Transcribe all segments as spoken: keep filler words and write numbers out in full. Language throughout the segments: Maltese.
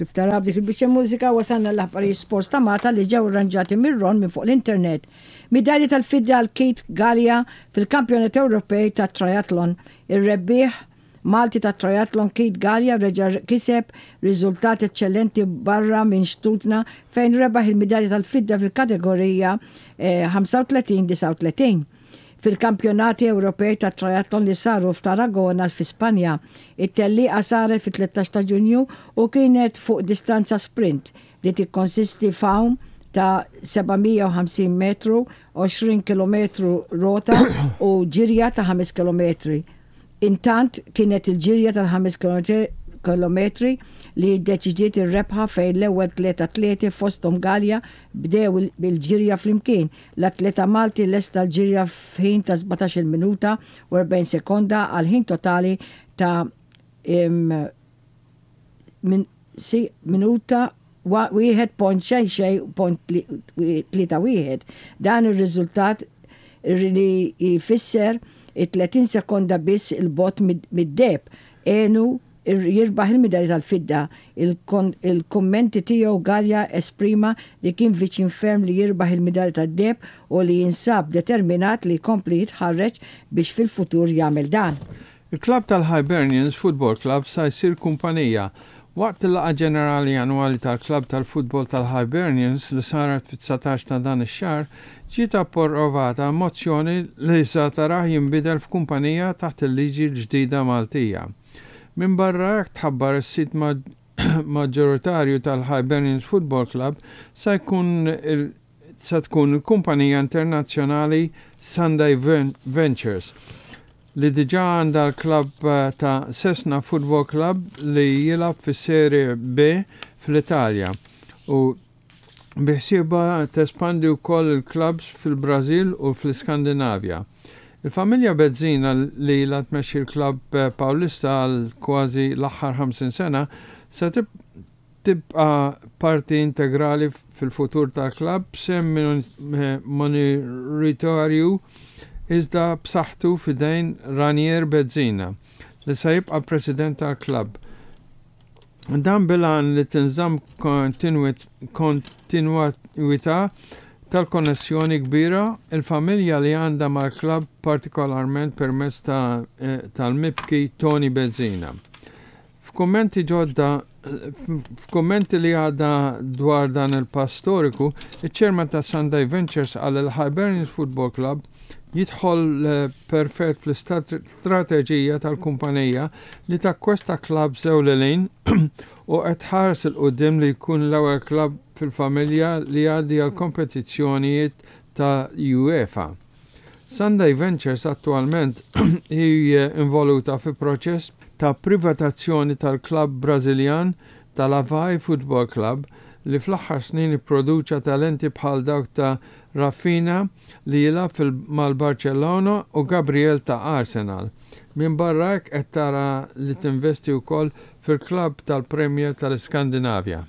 Kif tara b'dik il-biċċa mużika, wasalna l-aħbarijiet sports ta' Malta li ġew arranġati mir-Ron minn fuq l-internet. Midalji tal-fidda għal Keith Galea fil-Kampjonat Ewropej ta' Triathlon. Ir-rebbieħ Malti ta' Triathlon Keith Galea reġa' kiseb riżultat eccellenti barra minn xtutna, fejn rebaħ il-midalja tal-fidda fil-kategorija ħamsa u tletin disgħa u tletin fil-Kampjonati Ewropej ta' Triathlon li saru f'Tarragona fi Spanja. It-tellieqa saret fit-tlettax ta' Ġunju u kienet fuq distanza sprint li tikkonsisti f'għawm ta' seba' mija u ħamsin metru, għoxrin kilometru rota u ġirja ta' ħames kilometri. Intant kienet il-ġirja tal-ħames kilometri li deċidiet ir-rebħa, fejn l-ewwel tliet atleti, fosthom Galea, bdew bil-ġirja flimkien. L-atleta Malti lesta l-ġirja f'ħin ta' sbatax-il minuta u erbgħin sekonda għal ħin totali ta' min, si, minuta wieħed punt xejn xejn punt tlieta wieħed. Dan ir-riżultat li jfisser tletin sekonda biss 'il bogħod mid-deheb għenu jirbaħ il-medalja tal-fidda. Il-kommenti tiegħu, Galea esprima li kien viċin ferm li jirbaħ il-medalja tad-deheb u li jinsab determinat li jkompli jitħarreġ biex fil-futur jagħmel dan. Il-klab tal-Hibernians Football Club sa jsir kumpanija. Waqt il-laqgħa ġenerali annwali tal-klab tal-futbol tal-Hibernians li saret fit-dsatax ta' dan ix-xahar, ġiet approvata mozzjoni li sa tarah jinbidel f'kumpanija taħt il-liġi l-ġdida Maltija. Min barra hekk, tħabbar is-sid maġġoritarju tal-Hibernians Football Club sa jkun sa tkun il-kumpanija internazzjonali Sunday Ventures, li diġa għandha l-klab ta' Cesena Football Club li jilgħab fis-Serie B fl-Italja u biħsiebha tespandi wkoll il-klabs fil-Brażil u fl-Iskandinavja. Il-familja Bezzina, li ilha tmexxi l-klab Paulista għal kważi l-aħħar ħamsin sena, se tibqa parti integrali fil-futur tal-klab b'sehem minoritarju iżda b'saħħtu f'idejn Ranier Bezzina, li se jibqa' president tal-klab. Dan bil-għan li tinżamm kontinuità tal-konnessjoni kbira il-familja li għandha mal-klab, partikolarment permezz tal-mibki Tony Bezzina. F'kummenti ġodda F'kummenti li għadda dwar dan il-pass storiku, iċ-chairman ta' Sunday Ventures qal il-Hibernians Football Club jidħol perfett fl-istrateġija tal-kumpanija li takkwista klabs ewlenin u qed tħares 'il quddiem li jkun l-ewwel klab fil-familja li jgħaddi għal kompetizzjonijiet ta' UEFA. Sunday Ventures attualment hi involuta fi proċess ta' privatazzjoni tal-klab Brażiljan tal-Avaí Football Club, li fl-aħħar snin ipproduċa talenti bħal dawk ta' Raphinha li jilgħab mal-Barcellona u Gabriel ta' Arsenal. Min barra hekk, qed tara li tinvesti wkoll fil-klab tal-Premier tal-Iskandinavja.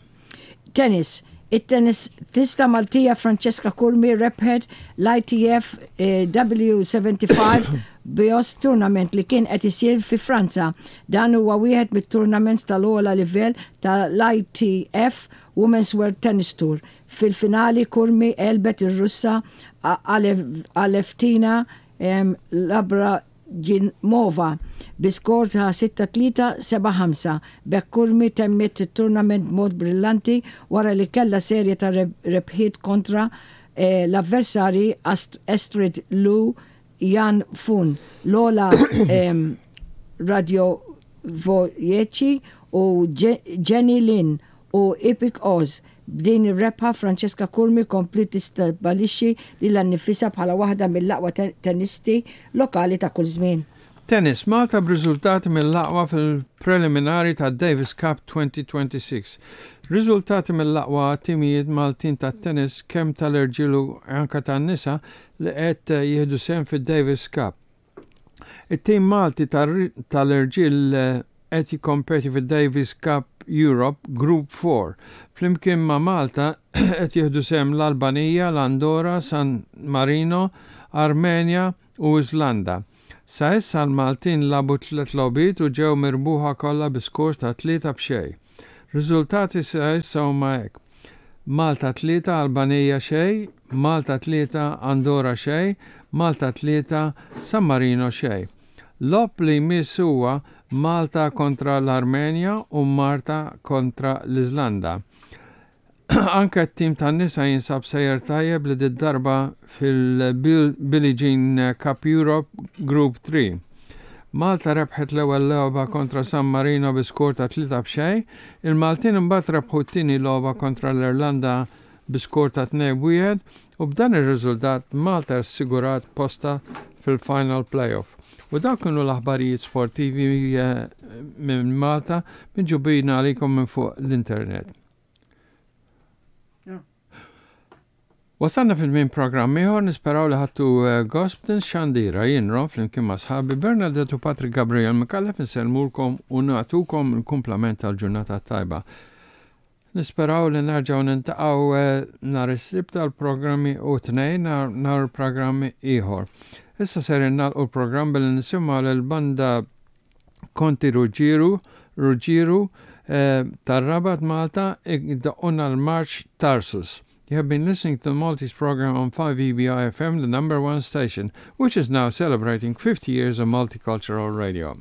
Tennis. It-tennista Maltija Francesca Curmi rebħet l-I T F eh, W sebgħa u ħamsin Beauce Tournament li kien qed isir fi Franza. Dan huwa wieħed mit-tournaments tal-ogħla livell tal-I T F Women's World Tennis Tour. Fil-finali Curmi għelbet ir-Russa Alevtina Labragimova bi skor ta' sitta tlieta, seba' ħamsa. B'hekk Curmi temmet it-tournament b'mod brillanti wara li kella serje ta' rebħiet kontra eh, l-avversari Astrid Lu Jan Fun, Lola Radiovojeċi u Jenny Lin u Ipek Oz. B'din ir-rebħa, Francesca Curmi kompli tistabbilixxi lilha nnifisha bħala waħda mill-aqwa tennisti lokali ta' kull żmien. Tennis, Malta b'riżultati mill-aqwa fil-preliminari ta' Davis Cup elfejn u sitta u għoxrin. Riżultati mill-aqwa timijiet Maltin ta' tennis, kemm tal-irġiel u anka tan-nisa, li qed jieħdu sehem fid-Davis Cup. It-tim Malti tal-irġiel qed jikkompeti fid-Davis Cup Europe Group four. Flimkien ma' Malta qed jieħdu sehem l-Albanija, l-Andorra, San Marino, Armenja u Islanda. Sa issa l-Maltin lagħbu tliet logħbiet u ġew mirbuħa kollha bi skors ta' tlieta b'xejn. Riżultati sa issa huma hekk. Malta tlieta, Albanija xejn, Malta tlieta, Andorra xejn, Malta tlieta, San Marino xejn. Logħob li jmiss huwa Malta kontra l-Armenja u Malta kontra l-Iżlanda. Anke t-tim tan-nisa jinsab sejjer tajjeb li darba fil-Billie Jean Cup Europe Group three. Malta rebħet l-ewwel logħba kontra San Marino bi skor ta' tlieta b'xejn, il-Maltin imbagħad rebħu t-tieni logħba kontra l-Irlanda bi skor ta' tnejn wieħed u b'dan ir-riżultat Malta assigurat posta fil-final playoff. U dawk kienu l-aħbarijiet sportivi eh, minn Malta miġjubin għalikom minn fuq l-internet. Wasalna fil-min programm ieħor, nisperaw li ħadtu eh, gost xandira. Jien Ron flimkien ma' sħabi Bernadette u Patrick Gabriel Micallef insellmulkom u nagħtukom il-kumplament tal-ġurnata tajba. Nisperaw li nerġgħu niltaqgħu eh, nhar is-Sibt tal-programmi u tnejn nhar programmi ieħor. Issa ser nagħlqu l-programm billi nisimgħu l-banda Konti Ruggiero Ruggiero eh, tar-Rabat Malta jdoqqulna l-Marċ Tarsus. You have been listening to the Maltese program on five E B I F M, the number one station, which is now celebrating fifty years of multicultural radio.